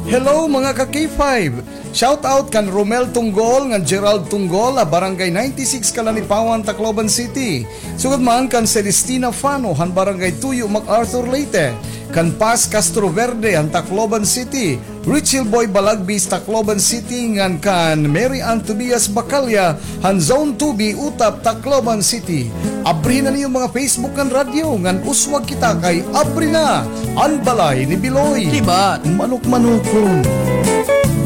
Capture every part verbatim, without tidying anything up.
Hello, mga ka K five! Shout out kan Romel Tunggol ngan Gerald Tunggol ha Barangay ninety-six Kalanipawan, Tacloban City. Sugad man kan Celestina Fano han Barangay Tuyo, MacArthur, Leyte. Kan Paz Castro Verde han Tacloban City. Richie Boy Balagbis, Tacloban City, ngan kan Mary Ann Tobias Bacalla han Zone two B, Utap, Tacloban City. Abrihi na niyo mga Facebook ngan radyo, ngan uswag kita kay abri na an balay ni Biloy. Diba? Manok-manokon.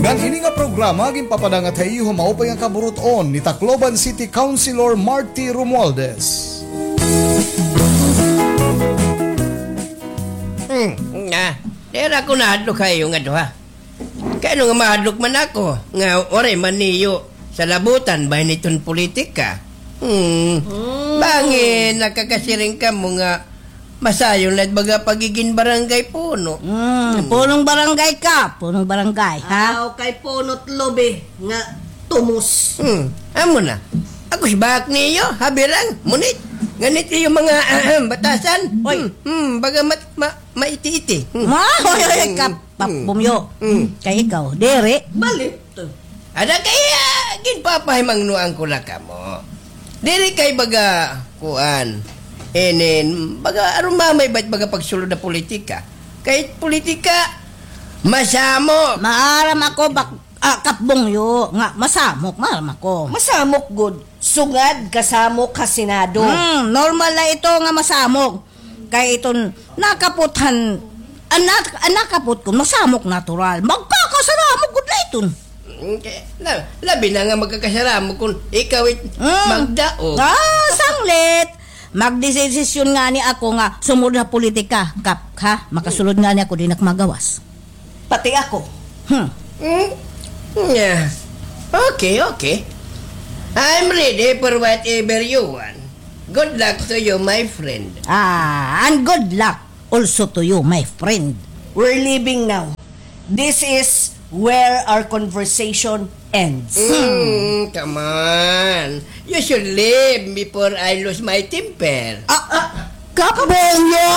Ngan ini nga programa ginpapadangat ha iyo ha maupay nga kaburut-on ni Tacloban City Councilor Marty Romualdez. Hmm, nga. Dira ko nahadlok ha iyo nga duha. Kay ano nga mahadlok man ako, nga waray man niyo salabutan bahin iton politika. Hmm. Hmm. Bangin nakakasiring kamo nga masayon la it baga pagigin barangay puno. Hmm, hmm. Punong barangay ka, punong barangay, ha? Aw, kay puno't lubi nga tumos. Hmm, amo na. Ako sibak niyo, habirang, munit. Nganit iyo mga, ahem, batasan. Oy. Hmm, hmm, baga mat-, ma-, maiti-iti. Hmm. Ma, oy, oy, oy, hmm, kap-, hmm, Pap Bumyo. Hmm. Kay ikaw, diri. Balit. Ada kay, ah, ginpapahimangnoan ko la kamo. Diri kay baga, kuan, inin, baga, aron mamay bait baga pagsulod ha politika. Kay politika, masamok. Maaram ako, bak-, ah, Kap Bumyo, nga masamok, maaram ako. Masamok gud. Sugad kasamok ha Senado. Hmm, normal na ito nga masamok. Kay iton nakapot han, an, nak-, an nakapot kon masamok natural. Magkakasaramok gud la iton. Mm, kay, la-, labi na nga magkakasaramok kon ikaw it, mm, magdaog. Ah, sanglit. Magdesisyon ngani ako nga sumud ha politika, Kap, ha? Makasulod ngani ako, di na ak magawas. Pati ako. Hmm. Hmm? Yeah. Okay, okay. I'm ready for whatever you want. Good luck to you, my friend. Ah, and good luck also to you, my friend. We're leaving now. This is where our conversation ends. Mm, come on. You should leave before I lose my temper. Ah, ah, Kap Bumyo?